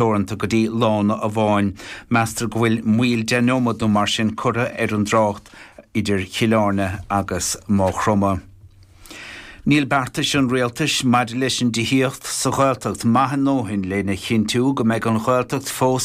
Teoranta go dtí lána amháin. Meastar go bhfuil moill 10 nóiméad nó mar sin curtha ar an dtrácht idir Chill Airne agus Maigh Chromtha. Níl beartais an rialtais maidir leis an dtithíocht sa Ghaeltacht maith a ndóthain lena chinntiú go mbeidh an Ghaeltacht fós.